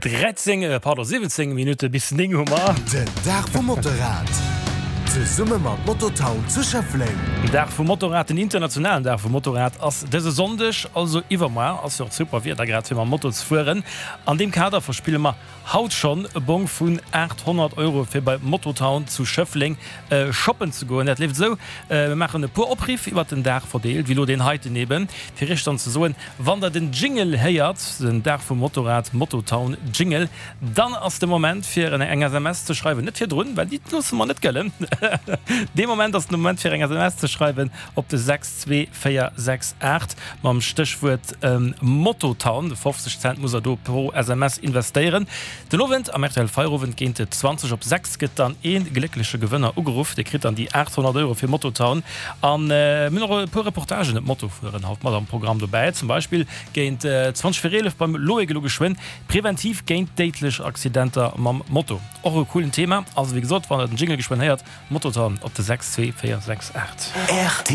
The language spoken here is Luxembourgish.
13, pardon, 17 Minutte bis 9 hu mer. Den Dag vum Motorrad, zesumme mat Mototown zu Schëffleng. Den Dag vum Motorrad, den internationalen Dag vum Motorrad ass dëse Sonndeg, also iwwermoar. Ass jo och super Wieder grad fir mam Moto ze fueren. An deem Kader verspille mer haut schonn e Bong vun 800 Euro fir bei Mototown zu Schëffleng shoppen ze goen. Dat leeft esou, Mir maachen e puer Opriff iwwert den Dag verdeelt, wéi elo deen heiten eben, fir iech dann ze soen, Wann der den Jingle héiert, den Dag vum Motorrad, Mototown Jingle, dann ass de Moment fir eng SMS ze schreiwen, net virdrun, well déi loosse mer net gëllen. Dee Moment ass de Moment fir eng SMS ze schreiwen op de 62468 mam Stéchwuert Mototown. 50 Cent musst der do pro SMS investéieren. Den Owend am rtl Feierowend géint 20 op 6 gëtt dann ee gléckleche Gewënner ugeruff. Dee kritt dann déi 800 Euro fir Mototown. An mir hunn och e puer Reportagen ëm d'Motofueren haut mat am Programm dobäi. Zum Beispill géint 20 vir 11 beim Loïc elo geschwënn, Präventiv géint déidlech Accidenter mam Moto. Och e coolen Thema. Also wéi gesot, wann der den Jingle geschwënn héiert, Mototown op de 6 2 4 6 8. Rtl.